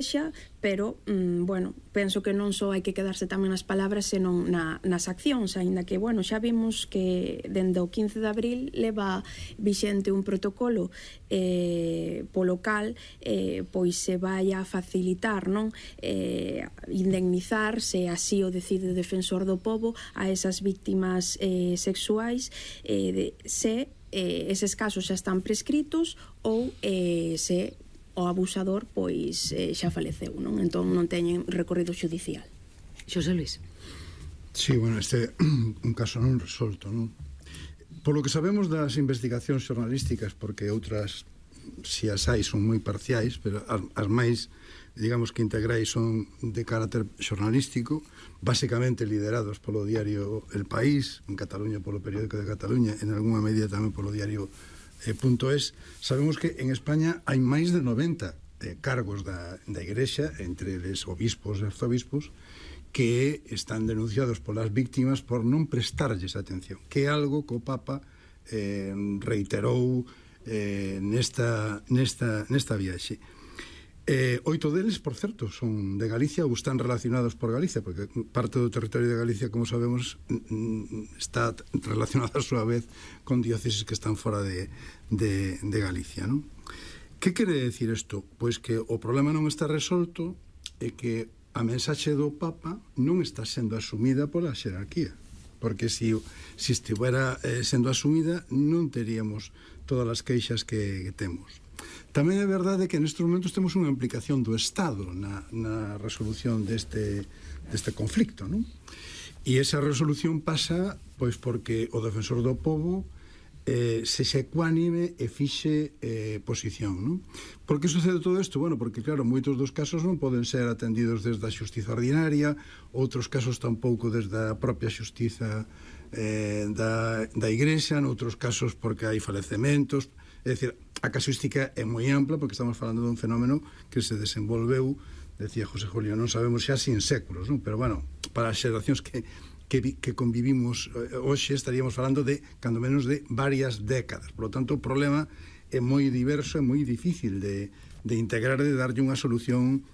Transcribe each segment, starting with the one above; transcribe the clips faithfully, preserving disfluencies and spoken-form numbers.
xa, pero, mm, bueno, penso que non só hai que quedarse tamén nas palabras, senón na, nas accións, aínda que, bueno, xa vimos que dende o quince de abril leva vixente un protocolo eh, polo cal eh, pois se vai a facilitar, non? Eh, indemnizar, se así o decide o defensor do pobo, a esas víctimas eh, sexuais, eh, de, se eh, eses casos xa están prescritos ou eh, se o abusador pois eh, xa faleceu, non? Entón non teñen recorrido xudicial. Xosé Luis. Sí, bueno, este un caso non resolto, non? Por lo que sabemos das investigacións xornalísticas, porque outras, si as hai, son moi parciais, pero as, as máis, digamos que integrais, son de carácter xornalístico, basicamente liderados polo diario El País, en Cataluña polo Periódico de Cataluña, en algunha medida tamén polo diario Eh, punto es. Sabemos que en España hai máis de noventa eh, cargos da, da Igrexa, entre eles obispos e arzobispos, que están denunciados polas víctimas por non prestarlles atención, que é algo que o Papa eh, reiterou eh, nesta, nesta, nesta viaxe. Eh, oito deles, por certo, son de Galicia ou están relacionados por Galicia, porque parte do territorio de Galicia, como sabemos, está relacionada a súa vez con dióceses que están fora de, de, de Galicia, non? Que quere decir isto? Pois que o problema non está resolto e que a mensaxe do Papa non está sendo asumida pola xerarquía, porque se si, si estivera eh, sendo asumida non teríamos todas as queixas que, que temos. Tamén é verdade que nestes momentos temos unha implicación do Estado na, na resolución deste, deste conflicto, non? E esa resolución pasa pois porque o defensor do pobo eh, se se ecuánime e fixe eh, posición, non? Por que sucede todo isto? Bueno, porque claro, moitos dos casos non poden ser atendidos desde a xustiza ordinaria, outros casos tampouco desde a propia xustiza eh, da, da Igrexa, noutros casos porque hai falecementos. É dicir, a casuística é moi ampla porque estamos falando dun fenómeno que se desenvolveu, decía José Julio, non sabemos xa sin séculos, non? Pero bueno, para as xeracións que, que, que convivimos hoxe estaríamos falando de, cando menos, de varias décadas. Por lo tanto, o problema é moi diverso, é moi difícil de, de integrar, de darlle unha solución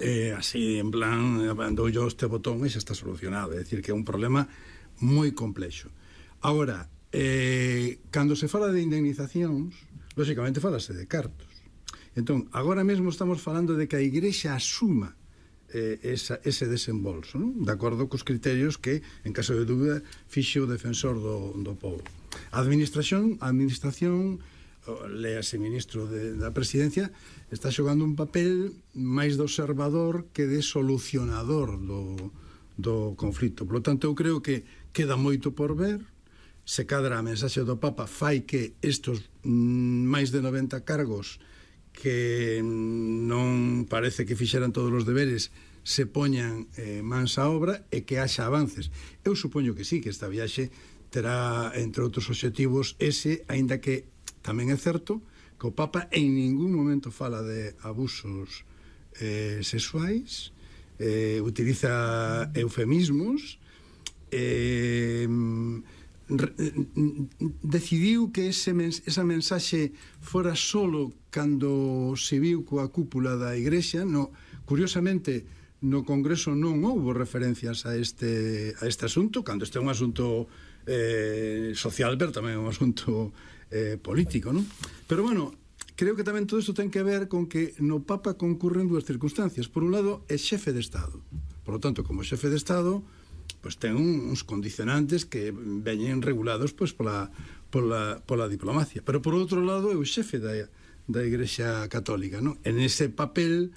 eh, así, en plan, dou yo este botón e xa está solucionado. É dicir, que é un problema moi complexo. Agora, Eh, cando se fala de indemnizacións, lóxicamente falase de cartos. Entón, agora mesmo estamos falando de que a Igrexa asuma eh, esa, ese desembolso, non? De acordo cos criterios que, en caso de dúbida, fixe o defensor do, do povo. A administración, a administración, léase ministro de, da presidencia, está xogando un papel máis de observador que de solucionador do, do conflito. Por lo tanto, eu creo que queda moito por ver. Se cadra a mensaxe do Papa fai que estos mm, máis de noventa cargos que non parece que fixeran todos os deberes se poñan eh, mans a obra e que haxa avances. Eu supoño que sí, que esta viaxe terá, entre outros obxectivos, ese, aínda que tamén é certo que o Papa en ningún momento fala de abusos eh, sexuais, eh, utiliza eufemismos, eh, decidiu que ese mens esa mensaxe fora solo cando se viu coa cúpula da Igrexa. No, curiosamente, no Congreso non houbo referencias a este, a este asunto, cando este é un asunto eh, social, pero tamén é un asunto eh, político, non? Pero, bueno, creo que tamén todo isto ten que ver con que no Papa concurren dúas circunstancias. Por un lado, é xefe de Estado. Por lo tanto, como xefe de Estado, pois ten uns condicionantes que veñen regulados pois pola, pola, pola diplomacia. Pero por outro lado é o xefe da, da Igrexa Católica, non? En ese papel,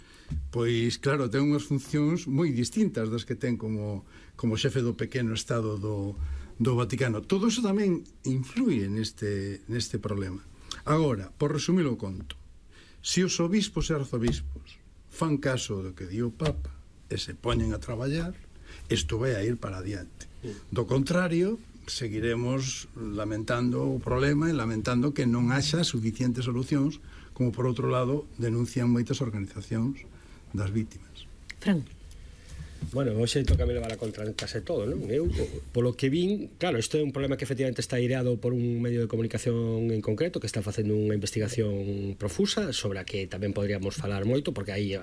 pois claro, ten unhas funcións moi distintas das que ten como, como xefe do pequeno Estado do, do Vaticano. Todo iso tamén influye neste, neste problema. Agora, por resumir o conto, se os obispos e arzobispos fan caso do que di o Papa e se poñen a traballar, isto vai a ir para adiante. Do contrario, seguiremos lamentando o problema e lamentando que non haxa suficientes solucións, como por outro lado denuncian moitas organizacións das vítimas. Fran. Bueno, hoxe toca me levar a contra en case todo, non? Eu, polo que vin, claro, isto é un problema que efectivamente está aireado por un medio de comunicación en concreto que está facendo unha investigación profusa sobre a que tamén podríamos falar moito, porque aí